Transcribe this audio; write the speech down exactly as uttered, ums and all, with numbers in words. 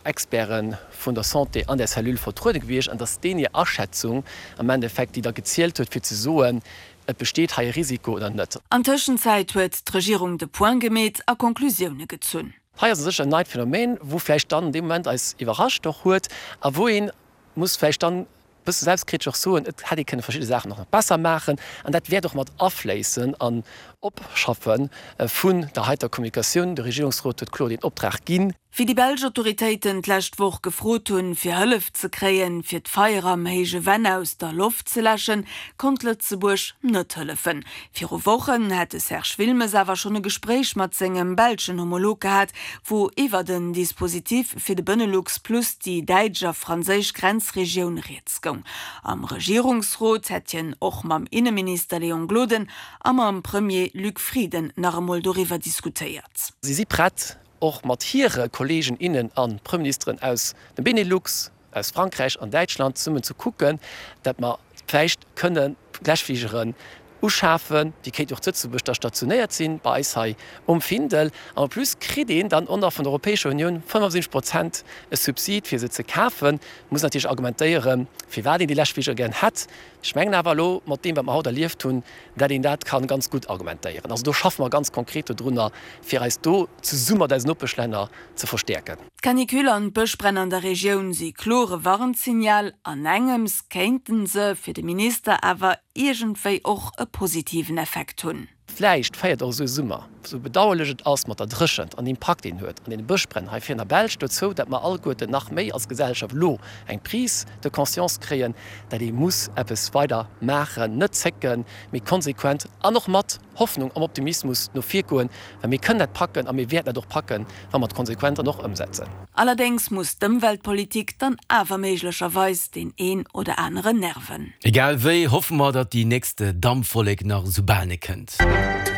Experte vun der Santé an där Cellule vertruede gewiescht an dass deen hir Aschätzung am Endeffekt, déi da gezielt huet, fir ze soen, et besteet hei e Risiko oder net. An Tëschenzäit huet d'Regierung de Point gemeet a Konklusioune gezunn. Hei ass u sech en neit Phänomen, wou vläicht dann dee Moment eis iwwerrascht och huet a wou ee muss vläicht dann e bësse selbstkritesch och soen, et hätt ee kënne verschidde Saachen och nach besser maachen. An dat wäert och mat afléissen an Opschaffe vun der heiter Kommunikatioun. De Regierungsrot huet kloer deen Optrag ginn. Wéi déi belsch Autoritéiten d'lescht Woch gefrot hunn, fir Hëllef ze kréien, fir d'Feier am Héije Venn aus der Loft ze läschen, konnt Lëtzebuerg net hëllefen. Viru Wochen hätt de Serge Wilmes awer schonn e Gespréich mat sengem belschen Homolog gehat, wou iwwert en Dispositif fir de Benelux plus déi däitsch a franséisch Grenzregioun rieds goung. Am Regierungsrot hätt hien och mam Inneminister Léon Gloden a mam Premier Luc Frieden nach emol doriwwer diskutéiert. Si si prett, och mat hire Kolleegen, innen a Premierministeren aus dem Benelux, aus Frankräich an Däitschland zesummen ze kucken, datt mer vläicht kënne Läschfligeren uschafen, déi kéinten och zu Lëtzebuerg da stationéiert sinn, bei eis hei um Findel. An en plus kritt een dann och nach vun der Europäescher Unioun fënnefundsiwwenzeg Prozent e Subsid, fir se ze kafen. Muss natierlech argumentéieren, firwat een déi Läschfligere gären hätt. Ech mengen awer elo, mat deem, wat mer haut erlieft hunn, dat een dat ka ganz gutt argumentéieren. Also do schaffe mer ganz konkret dodrunner, fir eis do zesumme mat eisen Nopeschlänner ze verstäerken. D'Canicule an d'Bëschbränn an der Regioun si klore Warnsignal. An engems kéinte se fir de Minister awer iergendwéi och e positiven Effekt hunn. Vläicht féiert och esou e Summer, esou bedauerlech et ass mat der Dréchent an Impakt deen huet an deene Bëschbränn hei vir an der Belsch, dozou, datt mer alleguerten nach méi als Gesellschaft elo eng Prise de conscience kréien, datt ee muss eppes weider maachen, net zécken, mee konsequent an och mat Hoffnung am Optimismus no vir goen, well mir kënnen dat packen a mir wäerten dat och packen, wa mer et konsequent dann och ëmsetzen. Allerdéngs muss d'Ëmweltpolitik dann awer méiglecherweis deen een oder aneren nerven. Egal wéi hoffe mer, datt déi nächst Dampwollek nach esou bal net kënnt.